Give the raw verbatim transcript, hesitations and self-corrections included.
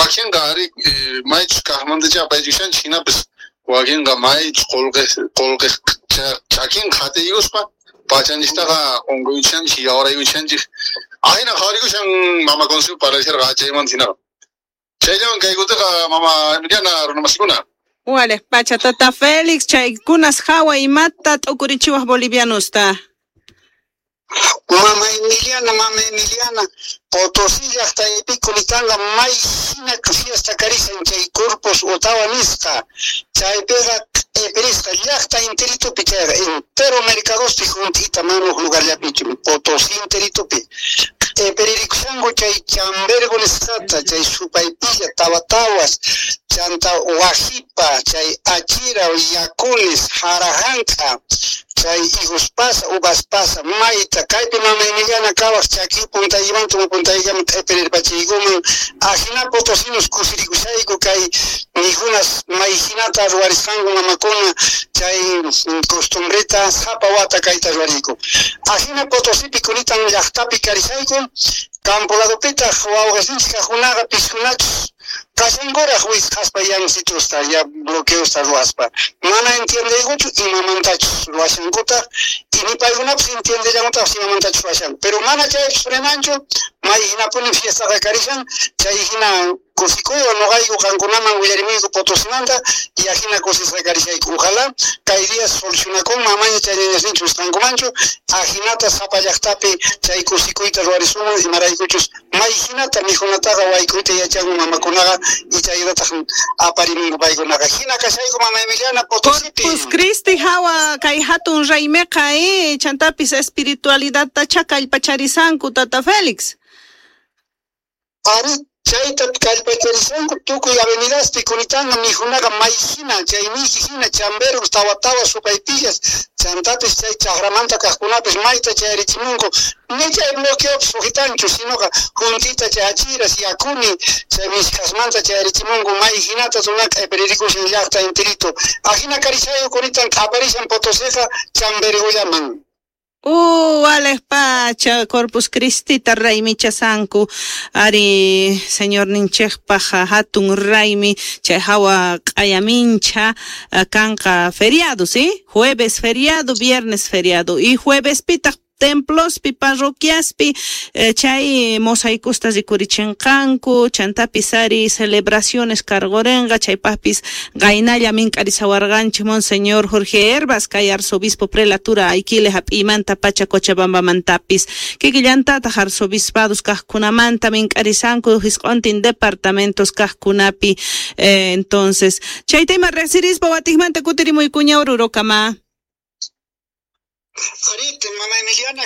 Wakinqa ari maychus kaqmantacha apaychikushanchik, hinapis wakinqa maychus qullqi qullqi chakin qhatiykuspa pachanchiktaqa unquychanchik, yawaraykuchanchik. Ahina qhawarikushan mama Consuelo parlasharqa chaymanta hinaqa. Chayllawan kay kutiqa mama Emiliana runamasikuna. Wale, pacha tata Félix, chaykunas hawa imata t'ukurichiwaj bolivianusta. Mama Emiliana, mama Emiliana, Potosí llaqtaypi kunitanga may hina fiesta karishan chay Corpus Ottawa nisqa, chaypiqa q'ipirisqa llaqta interitupi chayqa entero mercadospi juntita mana uj lugarllapichu Potosí interitupi q'ipiririkusanku chay chambergo nisqata, chay supaypilla, tawatawas, chanta wajipa, chay achira, yakunis, jarajanka, chay higos pasa, uvas pasa, mayta, kaypi mama Emiliana kawaj chaki puntaymanta puntayllaman q'ipirirpachiykuman, ajina potosinos kusirikushayku kay mijunas may hinata ruwarisqanku mamakuna chay costumbreta sapa wata kayta ruwariyku. Ajina Potosipi kunitan llaqtapi karishayku, campo ladopitaq wawqesinchik kaqkunaqa piskunachus kashankuraq wisqaspa yansitusta ya bloqueosta ruwaspa, mana entiendeykuchu imamantachus ruwashankutaq y ni paykunapis entiendellankutaqpis imamantachus ruwashanku, pero mana chaypis frenanchu, may hinapuni fiestaqa karishan, chay hina kusikuywan noqayku qankunaman willarimuyku Potosimanta y ajina kusisqa karishayku. Ojalá kay día solucionakunman amaña chay ñañasninchik wisqankumanchu, ajinata sapa llaqtapi chay kusikuyta ruwarisuman, imaraykuchus may hinata mijunataqa wayk'uyta yachanku mamakunaqa y chaytataq aparimunku paykunaqa. Hina kashayku mama Emiliana Potosipi. Corpus Christi hawa kay hatun raymiqa eh, chantapis espiritualidadtacha kallpacharisanku tata Félix. Ari chayta kallpacharisanku tukuy avenidaspi kunitanga mijunaqa may hina chay miji hina chambergos, tawatawas, supaypillas, chantapis chay chaqramanta kaqkunapis mayta chayarichimunku, ni chay bloqueopis sujitanchu, sinoqa juntita chay achiras, yakuni, chay mishkasmanta chayarichimunku may hinata runaqa q'ipiririkusan llaqta intirito. Ajina karishayu kunitan q'aparishan Potosiqa chambergollaman. Uh, Alex Pacha, Corpus Christi raymichasanku, ari señor ninchejpaj hatun raymi, chay hawa q'ayamincha, kanqa feriado, ¿sí? Jueves feriado, viernes feriado, y jueves pitaq templospi, parroquiaspi, eh, chay mosaikusta rikurichinqanku, chantapis ari celebraciones cargorenga, chaypajpis qaynalla mink'arisawarqanchik Monseñor Jorge Herbas, kay arzobispo prelatura Aiquile hap'iymanta pacha Cochabambamantapis, kikillantataq arzobispados kaqkunamanta mink'arisanku hisq'ontin departamentos kaqkunapi, eh, entonces chayta ima resirispa watikmanta kutirimuykuña Orurokama. Arite, mama Emiliana.